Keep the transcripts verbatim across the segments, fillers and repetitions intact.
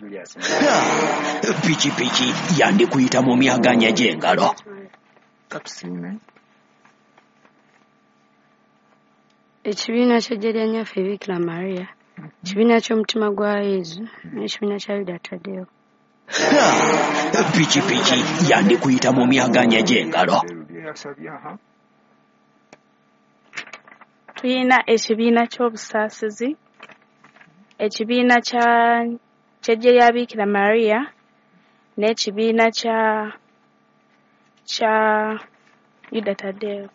Julius. Pikipiki yandikuyita mu myaganya gy'engalo. Katusiime. Ekibiina ky'eggye lya Nnyaffe Bikira Maria, ekibiina ky'omutima gwa Yezu n'ekibiina kya Yuda Tadeo. Pikipiki yandikuyita mu myaganya gy'engalo. Yasabye, aha. Tulina ekibiina ky'obusaasizi, ekibiina kya ky'eggye lya Bikira Maria n'ekibiina kya kya Yuda Tadeo.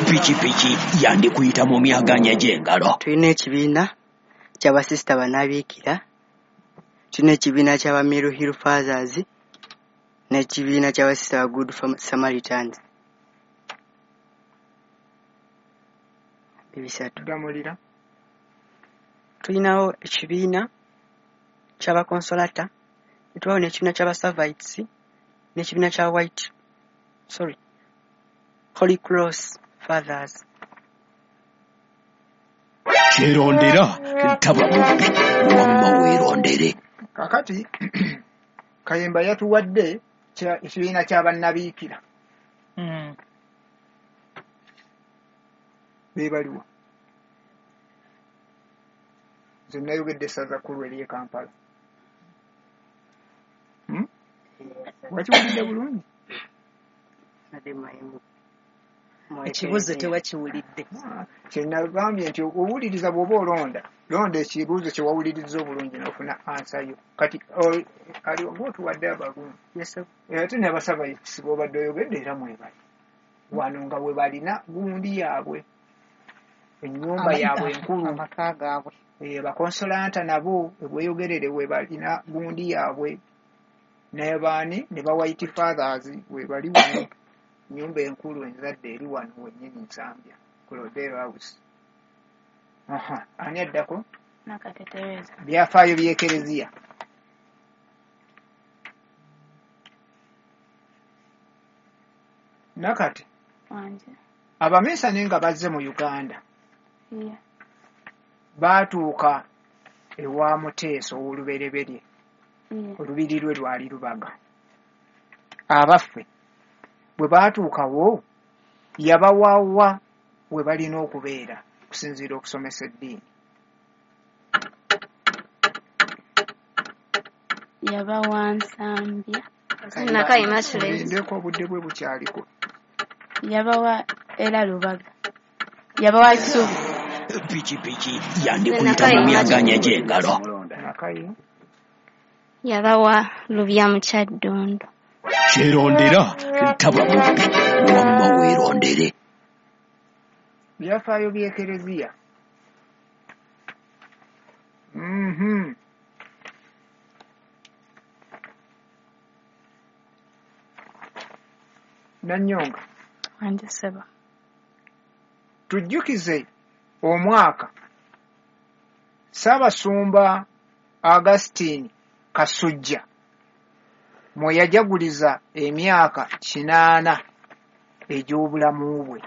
Pikipiki yandikuyita mu myaganya gy'engalo. Tulina ekibiina ky'abasisita bannabiikira, tulina ekibiina ky'aba Mill Hill Fathers n'ekibiina ky'abasisita ba Good Samaritans. Ebisatu. Ddamulira. Tulinawo ekibiina ky'abakonsolata, ne tubaawo n'ekibiina ky'abasavites n'ekibiina kya White, sorry, Holy Cross Fathers. Kyerondera taba mubbi, wamma weerondere. Kakati Kayemba yatuwadde ekibiina ky'abannabiikira. Mm. Beebaliwa. Nze nayogedde essaza kkulu ery'e Kampala. Hmm? Wakiwulidde bulungi? Ekibuuzo tewakiwulidde. Kye nagambye nti owuliriza bw'oba olonda, londa ekibuuzo kye wawulirizza obulungi n'ofuna ansa yo. Kati ali ng'otuwadde abalungi. Ate n'abasaba b'obadde oyogedde era mwebali. Wano nga bwe balina gundi yaabwe, ennyumba yaabwe enkulu. Amaka gaabwe. Bakonsolanta nabo ebweyogerere we balina gundi yaabwe. Ne baani ne ba White Fathers we bali wano. Nnyumba enkulu enzadde eri wano wennyini Nsambya, Claudel House. Aha, ani addako? Nakate Teresa. Byafaayo by'Ekereziya. Nakate. Wanje. Abaminsani nga bazze mu Uganda. Yeah. Baatuuka ewa Muteesa ow'olubereberye. Yeah. Olubiri lwe lwali Lubaga. Abaffe bwe baatuukawo yabawawa we balina okubeera okusinziira okusomesa eddiini. Yabawa Nsambya. Nakayi Immaculate. Ndeko obudde bwe bukyaliko. Yabawa era Lubaga. Yabawa Kisubi. Pikipiki yandikuyita mu myaganya gy'engalo. Nakayi. Yabawa Lubya mu Kyaddondo. Kyerondera taba mubbi, wamma weerondere. Byafaayo by'Ekereziya. Mhm. Nanyonga. Wanje ssebo. Tujjukize omwaka Ssaabasumba Augustine Kasujja mwe yajaguliza emyaka kinaana egy'obulamu bwe.